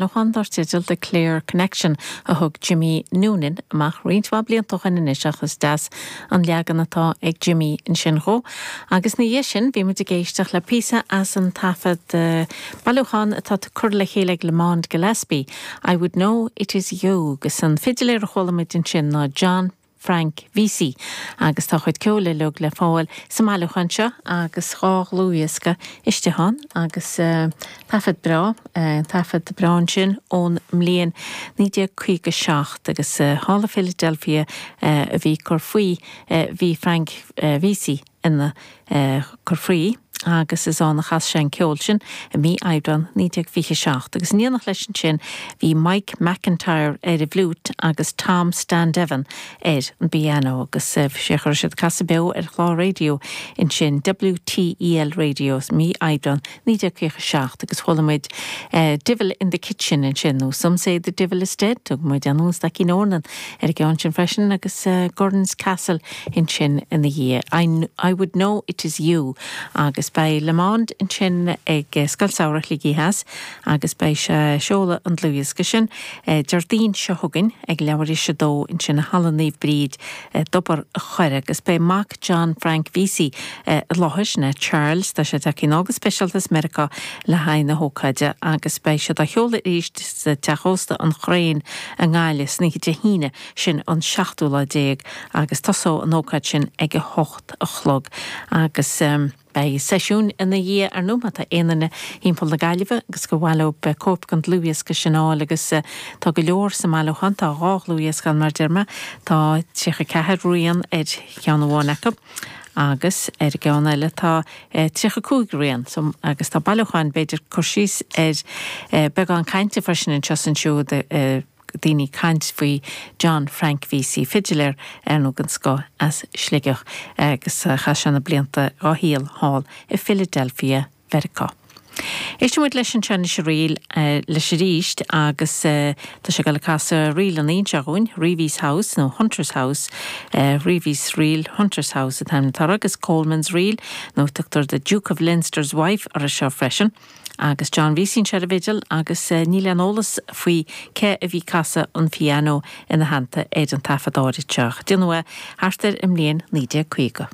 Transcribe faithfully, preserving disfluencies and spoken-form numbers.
Bailiúchán dar teideal The Clare Connection a thug Jimmy Noonan amach roinnt mhaith blianta ó shin anois ach is deas an leagan atá ag Jimmy ansin dhó. Agus ina dhiaidh sin bhí muid ag éisteacht le píosa as an taifead uh, bailiúchán atá curtha le chéile ag Lamond Gillespie. I would know it is you agus an fidiléir a chuala muid ansin ná John Frank Vesey agus tá chuid ceoil uilig le fáil sa mbailiúchán seo agus dhá dhlúthdhiosca istigh ann agus uh, taifead breá uh, taifead breá sin ón mbliain naoi déag caoga seacht agus uh, thall i Philadelphia uh, a bhí cur faoi uh, bhí Frank uh, Vesey ina uh, cur faoi agus is ann a chas sé an ceol sin i mí Aibreán naoi déag fiche seacht, agus in éineacht leis ansin bhí Mike McIntyre ar an bhfliúit agus Tom Standeven ar an bpianó agus sé chuir siad casadh beo ar chlár raidió ansin WTEL Radio mí Aibreán naoi déag fiche seacht agus chuala muid uh, Divil in the Kitchen ansin nó Some say the Divil is dead thug muid an Stacky Nornan ar an gceann sin freisin agus uh, Gordon's Castle ansin ina dhiaidh. I, I would know it is you agus beidh Lamond ansin ag Scoil Samhraidh Shligigh Theas agus beidh sé ag seoladh an dlúthdhiosca sin Déardaoin seo chugainn ag leathuair théis a dó ansin i Halla Naomh Bríd Tobar an Choire agus beidh mac John Frank Vesey i láthair ná Charles tá sé tagtha anall go speisialta as Meiriceá le haghaidh na hócáide agus beidh sé á sheoladh arís sa teach ósta an Chraein i nGaillimh san oíche Dé hAoine sin an seachtú lá déag agus tosóidh an ócáid sin ag a hocht a chlog agus um, Beidh seisiún ina dhiaidh ar ndóigh má tá aon duine timpeall na Gaillimhe agus gur mhaith leo cóip den dlúthdhiosca sin a fháil agus tá go leor sa mbailiúchán tá dhá dhlúthdhiosca mar a deir mé tá tríocha ceathair rian ar cheann amháin acu. agus ar an gceann eile tá tríocha cúig rian so, agus tá bailiúchán b'fhéidir cur síos ar beagán cainte freisin anseo ansiúd daoine ag caint faoi John Frank Vesey fidiléir ar nó den scoth as Sligeach agus chaith sé na blianta dá shaol thall i Philadelphia, Mheiriceá. Éistfidh muid leis an sin ríl leis arís agus tá sé ag casadh ríl an inseún, Reeves House nó Hunter's House, Reeves Reel Hunter's House atá tar agus Coleman's Reel nó tugtar the Duke of Leinster's wife ar seo freisin. agus John Vesey ar an bhfidil agus níl aon eolas faoi cé a bhí ag casadh an pianó ina theannta ar an taifead áirithe seo. Déanadh thart ar an mbliain naoi déag caoga.